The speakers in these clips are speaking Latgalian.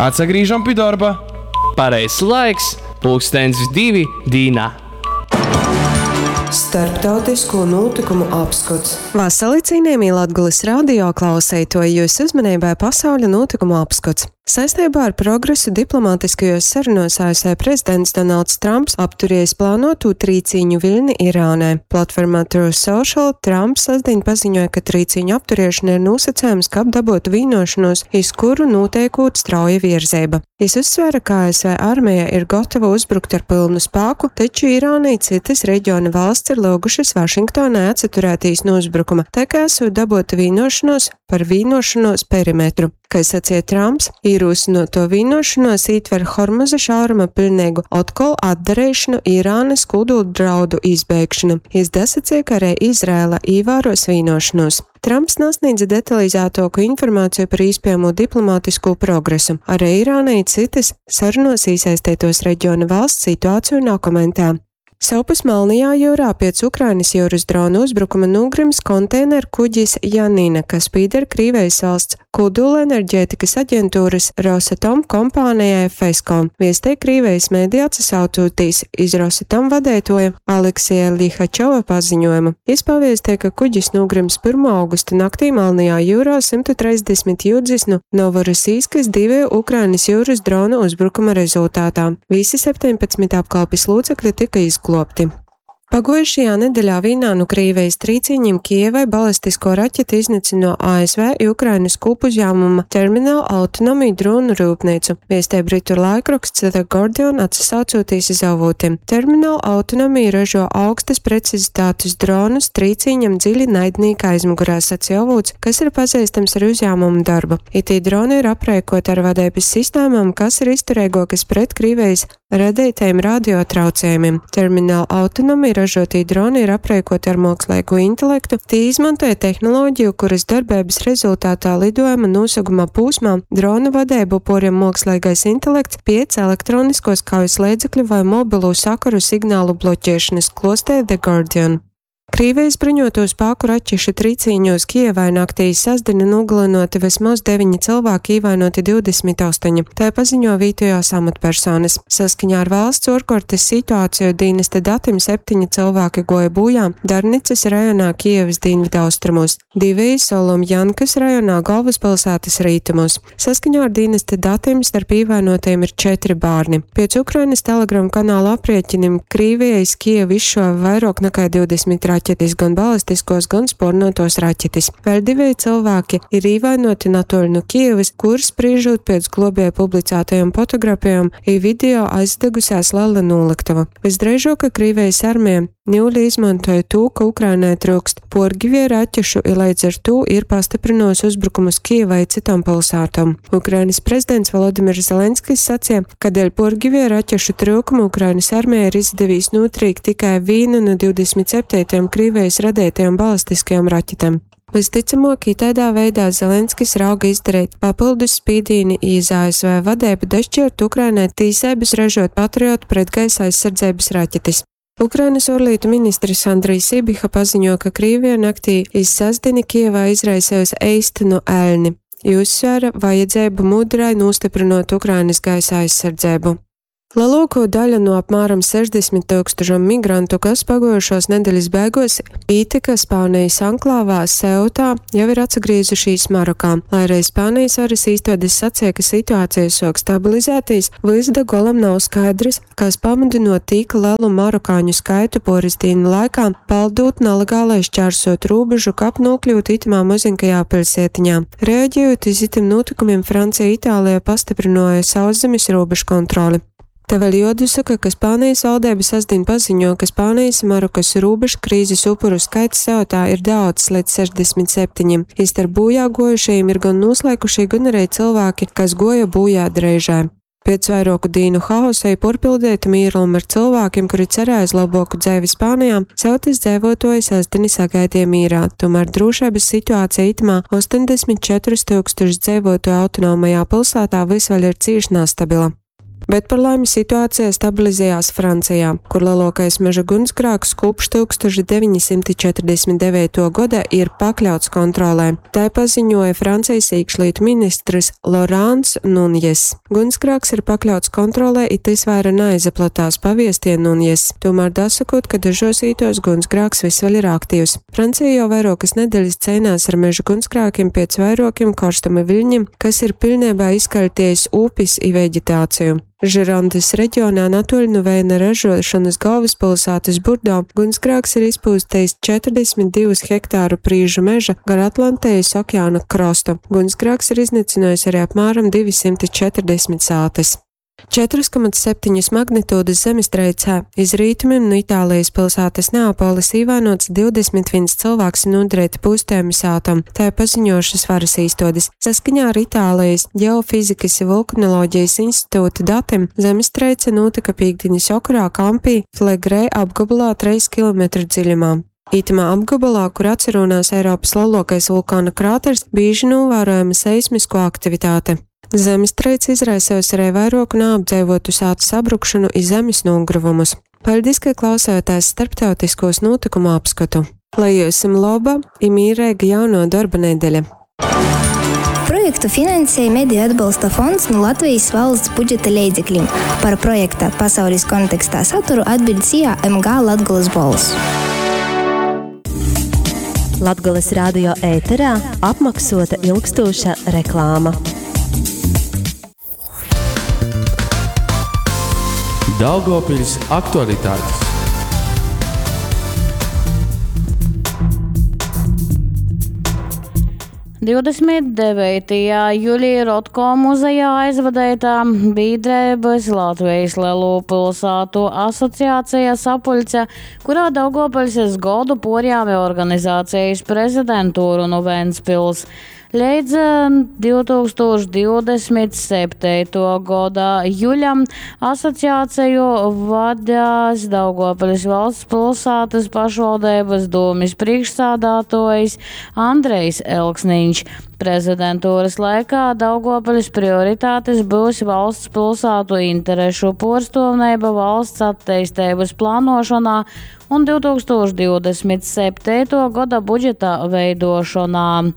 Atsagrīžam pi dorba. Pareizs laiks, pulkstens divi dīnā. Starptautisko nūtykumu apskots. Vasali, cienījamie Latgales radio klauseitoji, jūsu uzmanībai pasauļa nūtykumu apskots. Saistībā ar progresu diplomātiskajos sarunos ASV prezidents Donalds Trumps apturējis plānotū trīcīņu viļni Irānai. Platformā Truth Social Trumps sestdien paziņoja, ka trīcīņu apturēšana ir nosacījums, kab dabūtu vienošanos, iz kuru noteikot strauja virzeiba. Jis uzsvēra, ka ASV armija ir gatava uzbrukt ar pilnu spāku, taču Irāna i cytas reģiona valsts ir lūgušas Vašingtonai atsaturētīs nu uzbrukuma, tai kā esot dabūta vienošanos par vienošanos perimetru. Kai sacīja Trumps, īrūsinoto vienošanos ietver Hormuza šauruma pilnīgu otkol atdarīšanu Irānas kūduldraudu izbeigšanu. Jis dasacīja, ka arī Izraela īvēros vienošanos. Trumps nasniedza detalizētāku informāciju par iespējamo diplomātisko progresu. Arī Irāna i citas sarunos iesaistītos reģiona valsts situāciju nav komentē. Sovpus Melnajā jūrā piec Ukrainas jūras drona uzbrukuma nūgrims konteineru kuģis Janina, kas pīder Krīvejis valsts kūdūlenerģētikas aģentūras Rosatom kompānijai FESCO. Viestej Krīvejis mediji atsasaucūtīs iz Rosatom vadeitoja Aleksija Lihačova paziņojumu. Jis paviestē, ka kuģis nūgrims 1. augusta naktī Melnajā jūrā 130 jūdzis nu Novorosijskas divu Ukrainas jūras dronu uzbrukuma rezultātā. Visi 17 apkalpes locekļi tika izglābti. Paguojušajā nedeļā vīnā nu Krīvejis trīcīņim Kijevai balistisko raķeti iznīcino ASV i Ukrainas kūpuzņēmuma Terminal Autonomy dronu rūpnīcu, viestē britu laikraksts The Guardian atsasaucoties iz avūtiem. Terminal Autonomy ražo augstas precizitātes dronus trīcīņam dziļi naidnīka aizmugurā, sacīja avūts, kas ir pazīstams ar uzņēmumu darbu. Itī droni ir aprēkoti ar vadības sistēmām, kas ir izturīgākas pret Krīvejis radītajiem radiotraucējumiem. Terminal Autonomy ražotī droni ir aprēkoti ar mākslīgo intelektu, tie izmantoja tehnoloģiju, kuras darbības rezultātā lidojuma noseguma pūsmā drona vadību poriem mākslīgais intelekts piec elektroniskos kaujas līdzekļu vai mobilo sakaru signālu bloķēšanas, klostē The Guardian. Krīvijas bruņoto spēku raķešu trīcīņos Kijevai naktī sestdienu nogalinoti vismaz 9 cilvēki, ievainoti 28. Tā paziņo vietējās amatpersonas. Saskaņā ar valsts orkortes situāciju dienesta datiem 7 cilvēki goja bojā Darnicas rajonā Kijevas dienvidaustrumos, 2 Solomjankas rajonā galvaspilsētas rietumos. Saskaņā ar dienesta datiem starp ievainotajiem ir 4 bērni. Pēc Ukrainas Telegram kanāla aprēķiniem Krīvija iz Kijevu izšāva vairāk nekā 20 raķetes, gan balistiskos, gan spornotos raķetes. Vēl divi cilvēki ir ievainoti netoli no Kijevas, kur spriežot pēc globēja publicētajām fotografijām, i video aizdegusies liela noliktava. Visdrīzāk, ka Krīvijas armija Ņūli izmantoja to, ka Ukrainai trūkst porgivie raķešu, i līdz ar to ir pastiprinosi uzbrukumus Kijevai i cytom pilsētom. Ukrainas prezidents Volodimirs Zelenskis sacīja, ka dēļ porgivie raķešu trūkuma Ukrainas armijai ir izdevīs notrīkt tikai vienu no 27 Krīvijas radītajām balistiskajām raķetēm. Visticamāk, tādā veidā Zelenskis rauga izdarīt papildus spīdīni iz ASV vadību dašķirt Ukrainai tīsības ražot Patriot pretgaisa aizsardzības raķetes. Ukrainas ārlietu ministrs Andrijs Sibiha paziņo, ka Krīvija naktī iz sestdieni Kijevā izraisījusi eistenu elni. I uzsvēra vajadzību mudrai nostiprinot Ukrainas gaisa aizsardzību. Lielāko daļu no apmēram 60 tūkstošiem migrantu, kas paguojušos nedēļas beigās ītika Spānijas anklāvā Seutā, jau ir atsagriezušies Marokā. Lai arī Spānijas varas īstodes sacīja, ka situācija sok stabilizēties, vys da golam nav skaidrs, kas pamudinot tik lielu marokāņu skaitu poris dienu laikā paldūt nelegālai šķērsot robežu, kap nokļūt itamā mazinkajā pilsētiņā. Reaģējot iz itim notikumiem, Francija Itālijā pastiprināja sauszemes robežu kontroli. Te vēl jodusaka, ka Spānijas valdība sestdien paziņo, ka Spānijas Marokas robežu krīzes upuru skaits Seutā ir daudz līdz 67. Istarp bojā gojušajiem ir gan noslēkušie, gan arī cilvēki, kas goja bojā dreižē. Pēc vairāku dienu haosa i porpildēta mīrluma ar cilvēkiem, kuri cerēja uz labāku dzēvi Spānijā, Seutas dzēvotoji sestdieni sagaidīja mīrā. Tomēr drošības situācija itamā 84 tūkstošu dzēvotoju autonomajā pilsētā vis vēl ir cīši nestabila. Bet par laimi situācija stabilizējās Francijā, kur lielākais meža gunsgrāks kopš 1949. gada ir pakļauts kontrolē. Tā paziņoja Francijas iekšlietu ministrs Lorāns Nunjes. Gunsgrāks ir pakļauts kontrolē, it tas vaira neizaplatās paviestie Nunjes. Tomēr dasakot, ka dažos ītos gunsgrāks vis vēl ir aktīvs. Francija jau vairākas nedēļas cīnās ar meža gunsgrākiem pēc vairākiem karstuma viļņiem, kas ir pilnībā izkaļties upis i veģetāciju. Žirondes reģionā natoļ no vēna ražošanas galvaspilsētas Burdo gunsgrāks ir izpūstījis 42 hektāru prīžu meža gar Atlantijas okeāna krostu. Gunsgrāks ir iznīcinājis arī apmēram 240 sātes. 4,7 magnitūdas zemestreicē iz rītumiem no Itālijas pilsētas Neapolis īvainots 21 cilvēks un nodarīti pūstējumi sātam, tā ir paziņojušas varas īstodes. Saskaņā ar Itālijas Geofizikas i vulkanoloģijas institūta datiem zemestreice notika pīkdiņas okarā Kampī Flegrē apgabalā 3 km dziļumā. Itamā apgabalā, kur atcerunās Eiropas lielākais vulkāna krāters, bieži novērojama seismisko aktivitāte. Zemestreice izraisījusi arī vairoku neapdzīvotu sātu sabrukšanu i zemes nogruvumus. Paldies, ka klausāties starptautiskos notikumu apskatu. Lai jums laba i mīrīga jauno darba nedēļa! Projektu finansēja Mediju atbalsta fonds no Latvijas valsts budžeta leidzekļiem. Par projekta pasaules kontekstā saturu atbild SIA MG Latgulas bols. Latgulas radio ēterā apmaksota ilgstoša reklāma. Daugavpils aktualitātes. Divdesmit devītajā jūlijā Rotko muzejā aizvadītā biedrības Latvijas Lielo pilsētu asociācija sapuļce, kurā Daugavpils es godu porjāmi organizācijas prezidentūru no Ventspils. Līdz 2027. Gada juļam asociāciju vadās Daugavpils valsts pilsētas pašvaldības dūmis priekšsādātājs Andrejs Elksniņš. Prezidentūras laikā Daugavpils prioritātes būs valsts pilsētu interešu porstovnība valsts attīstības plānošanā un 2027. Gada budžeta veidošanā.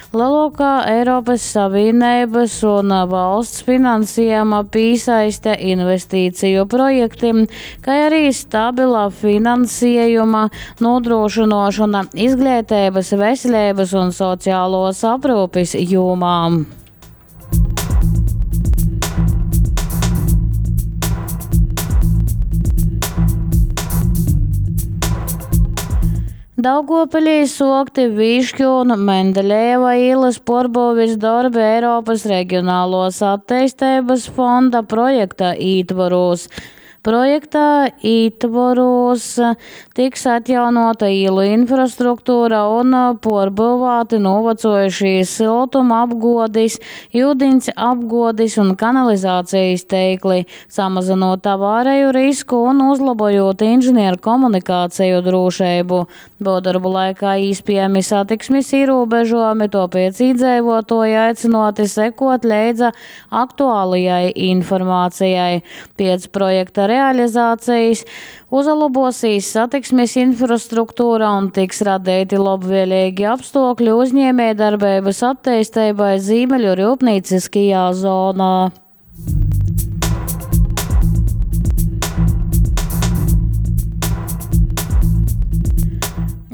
Lielākā Eiropas Savienības un valsts finansējuma piesaiste investīciju projektiem, kā arī stabila finansējuma nodrošināšana izglītības, veselības un sociālos aprūpes jomām. Daugavpilī sokti Višķu un Mendeļejeva ielas porbūvis darbi Eiropas reģionālos attīstības fonda projekta ītvaros. Projekta ītvaros tiks atjaunota ielu infrastruktūra un porbūvāti novecojušie siltuma apgodis, ūdens apgodis un kanalizācijas teikli, samazinot avāriju risku un uzlabojot inženieru komunikāciju drošību. Būvdarbu laikā iespējami satiksmes ierobežojumi, tāpēc iedzīvotāji aicināti sekot leidza aktuālajai informācijai. Pēc projekta realizācijas uzlabosīs satiksmes infrastruktūra un tiks radīti labvēlīgi apstākļi uzņēmējdarbības attīstībai Ziemeļu rūpnieciskajā zonā.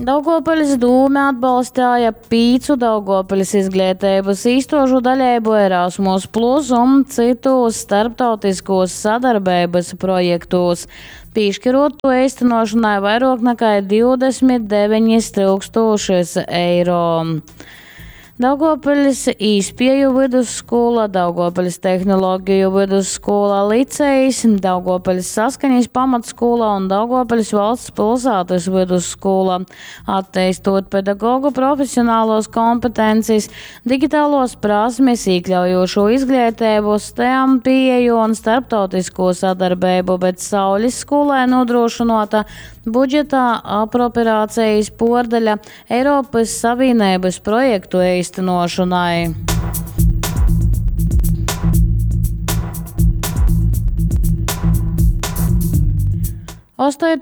Daugavpils dūme atbalstīja pīcu Daugavpils izglītības īstožu daļību Erasmus Plus un citos starptautiskos sadarbības projektos, piešķirot to īstenošanai vairāk nekā 29 tūkstošus eiro. Daugavpils īspēju vidusskola, Daugavpils tehnoloģiju vidusskola licejs, Daugavpils saskaņas pamatskola un Daugavpils valsts pilsētas vidusskola, attīstot pedagogu profesionālos kompetences, digitālos prasmes, iekļaujošo izglītību, STEM pieeju un starptautisko sadarbību, bet Saules skolai nodrošinota budžetā apropriācijas pordaļa Eiropas Savienības projektu īstenošanai. 8.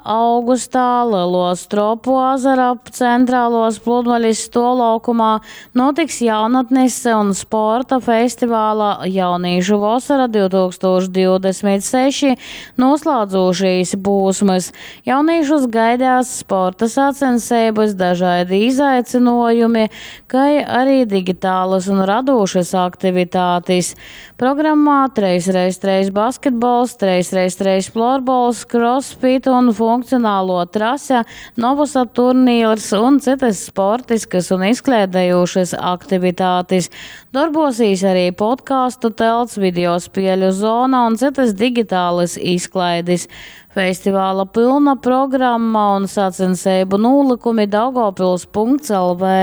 Augustā Leluo Stropu azara centrāluos pludmalis stuovlaukumā notiks jaunatnes un sporta festivāla Jaunīšu vosara 2026 noslēdzošīs pūsmys. Jaunīšus gaidās sporta sacenseibys, dažaidi izaicynuojumi, kai ari digitālys un radūšys aktivitatis. Programmā 3x3 basketbols, 3x3 florbols, crossfit un funkcionālo trase, novusa turnīrs un cytys sportiskys un izklaidejūšys aktivitatis. Dorbosīs arī podkāstu telts, video spieļu zona un cytys digitalys izklaidis. Festivāla pylna programma un sacenseibu nūlykumi daugavpils.lv.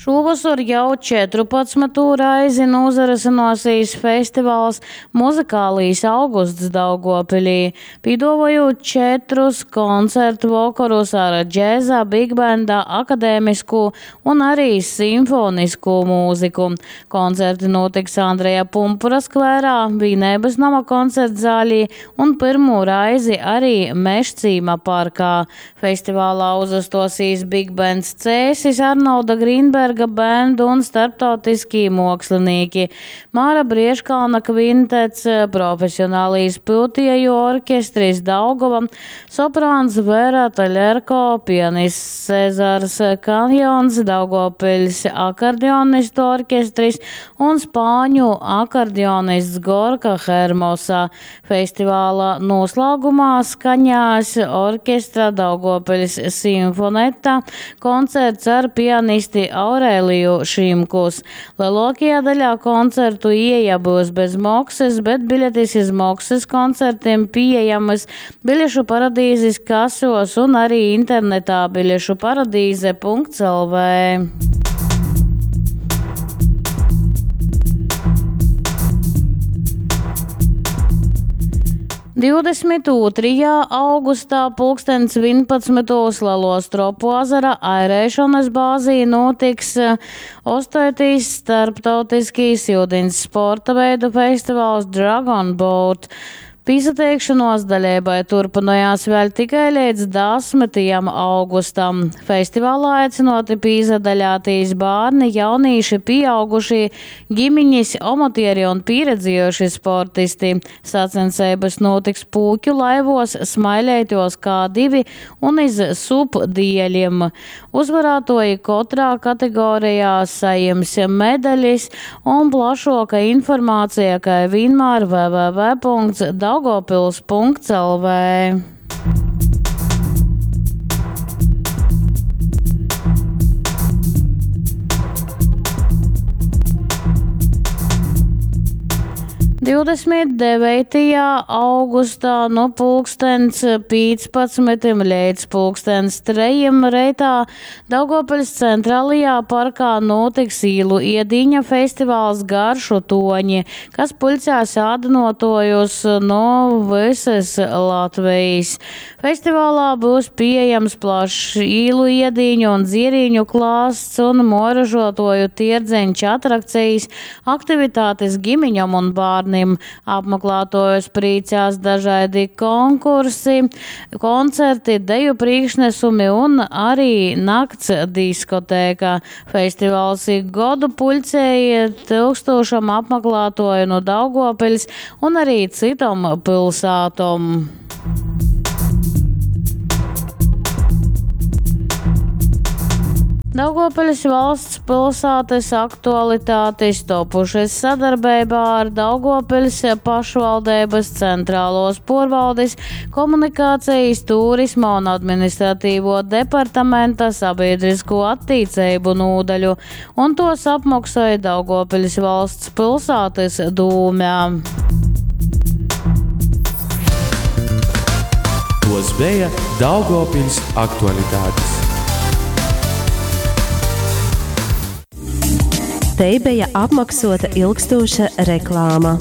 Šūvosor jau 14. Reizi nūzarysynuosīs festivals Muzykālīs augusts Daugovpilī, pīduovojūt četrus koncertu vokorus ar džeza, bigbenda, akadēmiskū un arī simfoniskū mūziku. Koncerti nūtiks Andreja Pumpura skvērā, Vīneibys noma koncertzālī un pyrmū reizi arī Mežcīma parkā. Festivālā uzastuosīs bigbends Cēsis, Arnolda Grīnberga band un starptautiskī muokslinīki Māra Briežkalna kvintets, profesionālīs pyutieju orķestris Daugova, soprāns Vera Taļerko, pianists Cezars Kanjons, Daugavpiļs akordeonistu orķestris un spāņu akordeonists Gorka Hermosa. Festivāla noslāgumā skaņās orķestra Daugavpiļs simfonetta koncerts ar pianisti Aurēliju Šimkus. Lielākajā daļā koncertu ieeja būs bez maksas, bet biļetes iz maksas koncertiem pieejamas Biļešu paradīzes kasos un arī internetā biļešu paradīze.lv. 22. Augustā pulkstens 11. Lelo Stropu azara airēšanas bāzī notiks 8. Starptautiskīs iudins sporta veidu festivāls Dragon Boat. Pīsateikšanos daļeibai turpinājās vēl tikai līdz 10. Augustam. Festivālā aicināti pīzadaļātīs bērni, jaunīši, pieaugušie, ģimiņas, omotieri un pieredzējuši sportisti. Sacenseibas notiks pūķu laivos, smailētos K2 un iz subdieļiem. Uzvarātoji katrā kategorijā sajims medaļas un plašoka informācija, kā vienmēr www.daugavpils.lv. 29. Augustā no pulkstens 15 līdz pulkstens 3 reitā Daugavpils centrālajā parkā notiks īlu iedīņa festivāls Garšu toņi, kas puļcēs ādynuotojus no visas Latvijas. Festivālā būs pieejams plašs īlu iedīņu un dzierīņu klāsts un moražotoju tierdzeņš atrakcijas, aktivitātes gimiņam un bārnim. Apmeklētojus priecās dažādi konkursi, koncerti, deju priekšnesumi un arī nakts diskotēka. Festivāls ik godu puļcēja tūkstošam apmeklētoju no Daugavpils un arī citom pilsētom. Daugavpils valsts pilsētas aktualitātes topušas sadarbībā ar Daugavpils pašvaldības centrālos porvaldes, komunikācijas, turisma un administratīvo departamenta sabiedrisko attīcību nūdaļu, un tos apmaksāja Daugavpils valsts pilsētas dūmē. Tos bija Daugavpils aktualitātes. Te bija apmaksota ilgstoša reklāma.